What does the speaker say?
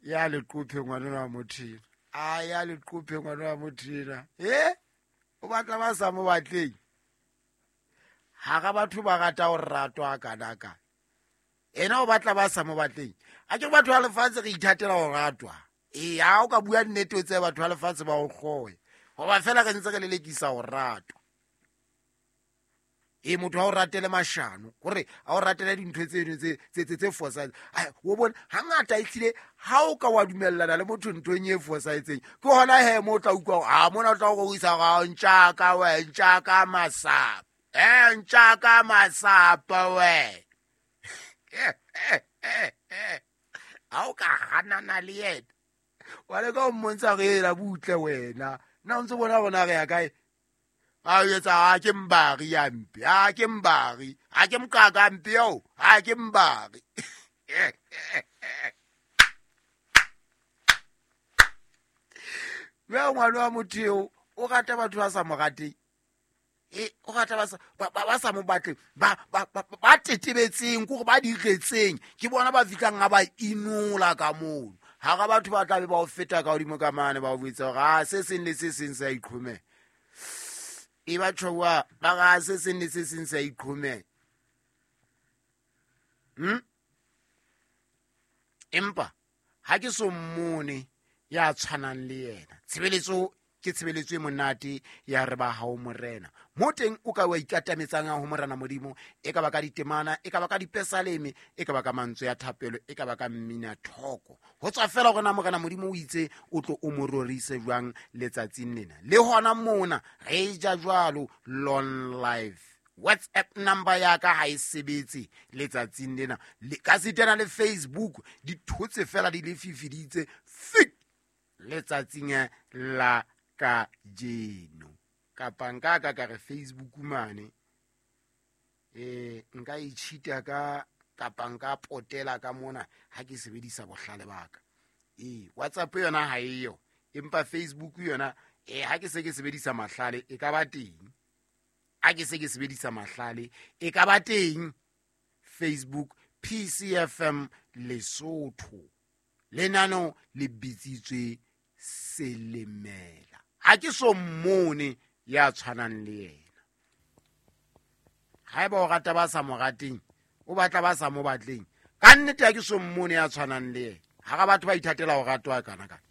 Ya leqophe ngwana wa motho, a ya leqophe ngwana wa motho. E o batla ba sa mo batleng hara batho ba rata ho ratwa kanaka. Ena o batla ba sa mo batleng. A ke batho ba lefatshe re ithatela ho ratwa. Ee, ha o ka bua nnete o tsebe batho ba lefatshe ba o hloye, hoba fela re ntse re lelekisa ho ratwa. E motho ha o ratele mashano, hore ha o ratele dintho tseno tse fosahetseng. O bone hangata ehlile ha o ka wa dumellana le motho nthong e fosahetseng, ke hona he mo o tla utlwa hore, a mona o tla o isa hore, ntjaka we, ntjaka masapo. Ntjaka masapo we. Ha o ka hanana le yena, wa leka ho mmontsha hore ela butle wena. Nna o ntso bona hore na re ya kae? A etsa ha ke mbari ya mpe, ha ke mbari, ha ke mokaka mpe eo, ha ke mbari. Jwale ngwana wa motho eo o rata batho ba sa mo rateng. E, o rata ba sa mo batleng, ba tetebetseng, ke hore ba diretseng, ke bona ba fihlang ha ba inola ka mono. Hara batho ba tla be ba o feta ka hodimo ka mane, ba o botsa hore, ah, se seng le se seng se a iqhomela. E ba tjhowa, ba ra se seng le se seng se a iqhomela. Empa ha ke so mmone ya tshwanang le yena. Tshebeletso ke tshebeletso e monate ya re ba hao morena. Mo teng o ka wa ikatametsang ho morena Modimo, e ka ba ka ditemana, e ka ba ka dipesaleme, e ka ba ka mantswe ya thapelo, e ka ba ka mmina thoko. Ho tswa fela hore na morena Modimo o itse o tlo o mo rorise jwang letsatsing lena. Le hona mona re ja jwalo long life. WhatsApp number ya ka ha e sebetse letsatsing lena. Le ka sitana le Facebook di thotse fela di le fifiditse fik letsatsing la kajeno. Kapa nka ka ka re Facebook mane, nka e cheat-a ka, kapa nka potela ka mona ha ke sebedisa bohlale ba ka. WhatsApp yona ha eyo, empa Facebook yona, ha ke se ke sebedisa mahlale e ka ba teng. Ha ke se ke sebedisa mahlale e ka ba teng. Facebook PCFM Lesotho, lenano le bitsitswe Selemela. Ha ke so mmone ya tshwanang le yena. Haeba o rata ba sa mo rateng, o batla ba sa mo batleng, ka nnete ha ke so mmone ya tshwanang le yena. Hara batho ba ithatela ho ratwa kana kana.